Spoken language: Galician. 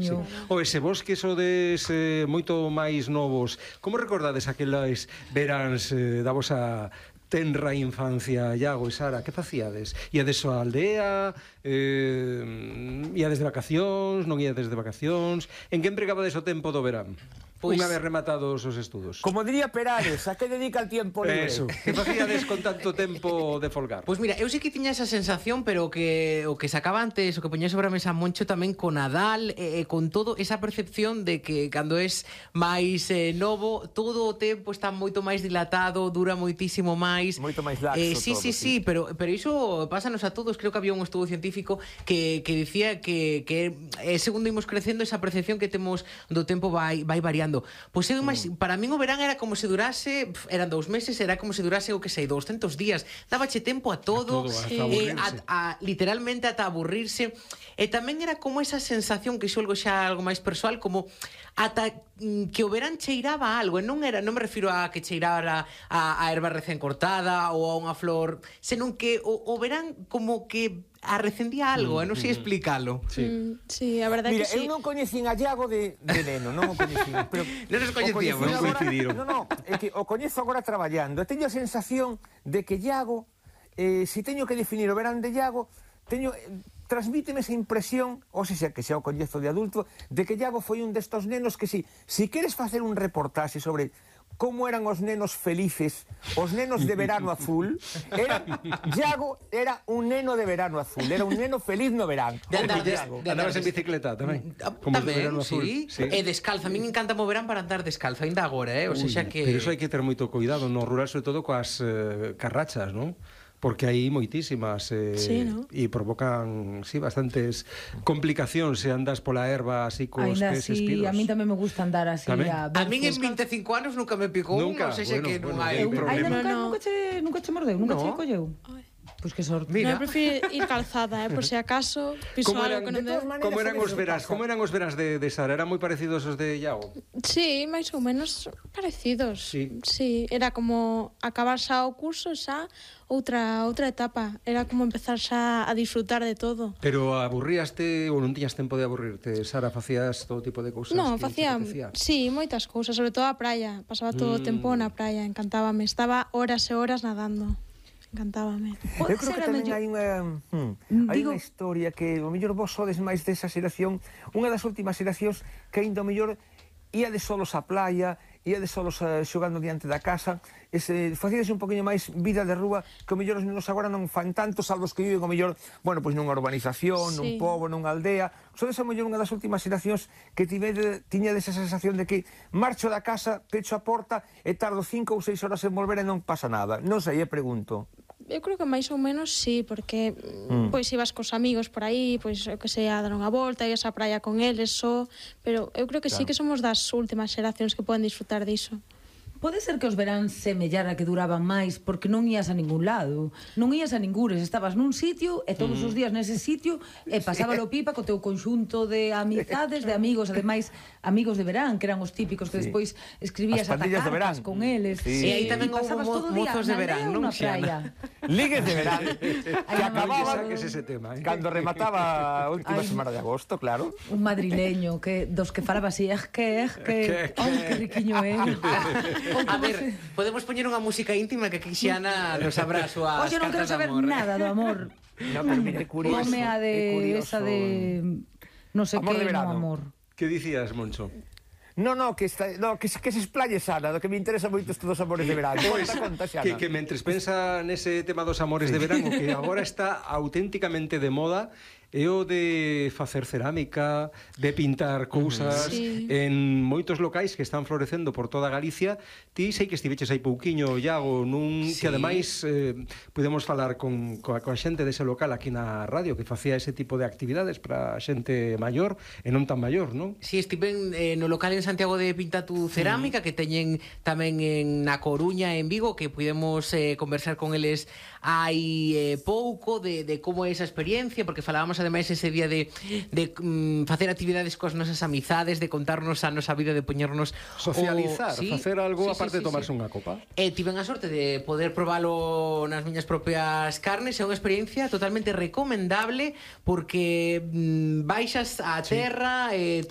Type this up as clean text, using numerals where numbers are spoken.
Sí. O ese vos que sodes moito máis novos, como recordades aquelas veráns da vosa tenra infancia, Iago e Sara? Que facíades? Iades á aldea? Iades de vacacións? Non iades de vacacións? En que empregabades o tempo do verán? Unha vez rematados os estudos. Como diría Perales, a que dedica el tiempo libre? Eso, que facíades con tanto tempo de folgar? Pois mira, eu sí que tiña esa sensación, pero o que sacaba antes, o que poñía sobre a mesa Moncho tamén con Nadal, con todo esa percepción de que cando es máis novo, todo o tempo está moito máis dilatado, dura moitísimo máis. Moito máis laxo todo. Sí, pero iso pásanos a todos. Creo que había un estudo científico que dicía que segundo imos crecendo, esa percepción que temos do tempo vai variando. Pois eu, para min o verán era como se durase, eran 2 meses, era como se durase o que sei, 200 días. Dábache tempo a todo, literalmente ata aburrirse. E tamén era como esa sensación, que xolgo xa algo máis persoal, como ata que o verán cheiraba algo, e non me refiro a que cheirara a erva recén cortada ou a unha flor, senón que o verán como que arrecendía algo, non sei explicalo. Sí, a verdade Mira, que sí. eu non coñecín a Iago de neno, non o coñecín. Pero Non nos coñecíamos, non coincidiron. Non, é que o coñezo agora traballando. E teño a sensación de que Iago, se teño que definir o verán de Iago, transmíteme esa impresión, ou se que xa o coñezo de adulto, de que Iago foi un destos nenos que si queres facer un reportaxe sobre como eran os nenos felices, os nenos de verano azul, Iago era un neno de verano azul, era un neno feliz no verán. Andabas en bicicleta tamén? Tamén, sí. E descalzo, a mí me encanta o verán para andar descalzo, ainda agora, o sea que... Pero iso hai que ter moito cuidado no rural, sobre todo coas carrachas, non? Porque hai moitísimas e provocan, bastantes complicacións se andas pola erva así cos pés espidos. A mí tamén me gusta andar así. A min en 25 anos nunca me picou, non sei se que non hai problema. Nunca che mordeu, nunca che colleu. Pois que sorte. Mira, eu prefiro ir calzada, por se acaso piso algo que non deu. Como eran os veráns de Sara? Eran moi parecidos aos de Iago? Sí, máis ou menos parecidos. Sí, era como acabar xa o curso, xa outra etapa. Era como empezar xa a disfrutar de todo. Pero aburríaste ou non tiñas tempo de aburrirte? Sara, facías todo tipo de cousas? Non, facía, sí, moitas cousas, sobre todo a praia. Pasaba todo o tempo na praia, encantábame. Estaba horas e horas nadando. Encantábame. Eu creo que tamén hai unha historia que o mellor vos sodes máis desa xeración, unha das últimas xeracións que aínda o mellor ia de solos á playa, ia de solos xogando diante da casa, facíades un poquinho máis vida de rúa, que o mellor os nenos agora non fan tanto, salvo os que viven o mellor, bueno, pois nunha urbanización, nun pobo, nunha aldea. Sodes a mellor unha das últimas xeracións que tiñades esa sensación de que marcho da casa, pecho a porta e tardo 5 ou 6 horas en volver e non pasa nada. Non sei, pregunto. Eu creo que máis ou menos sí, porque pois ibas cos amigos por aí, pois eu que sei, a dar unha volta, ibas á praia con eles pero eu creo que sí que somos das últimas xeracións que poden disfrutar diso. Pode ser que os veráns semellara que duraban máis porque non ías a ningún lado, non ías a ningures, estabas nun sitio e todos os días nese sitio e pasábalo pipa co teu conxunto de amizades, de amigos, ademais amigos de verán, que eran os típicos que despois escribías ata cartas con eles. E aí tamén houve mozos de verán, non? Ligues de verán que acababan cando remataba a última semana de agosto, claro. Un madrileño dos que falaba así, que riquiño é. A ver, podemos poñer unha música íntima que Xiana nos abra as súas cartas de amor. Oxe, non quero saber nada do amor. No, permite curioso. Come a de esa de non sei que no amor. Que dicías, Moncho? Que se explaye Sara, do que me interesa moito isto dos amores de verán. Que mentres pensa nese tema dos amores de verán, o que agora está auténticamente de moda é o de facer cerámica, de pintar cousas en moitos locais que están florecendo por toda Galicia. Ti sei que estiveches aí pouquiño, Iago, que ademais podemos falar coa xente dese local aquí na radio que facía ese tipo de actividades para xente maior e non tan maior, non? Si, estiven no local en Santiago de Pintatu Cerámica, que teñen tamén na Coruña e en Vigo, que pudemos conversar con eles hai pouco de como é esa experiencia, porque falábamos ademais ese día de facer actividades coas nosas amizades, de contarnos a nosa vida, de poñernos socializar, facer algo aparte de tomarse unha copa. Tiven a sorte de poder probalo nas miñas propias carnes, é unha experiencia totalmente recomendable porque baixas á terra,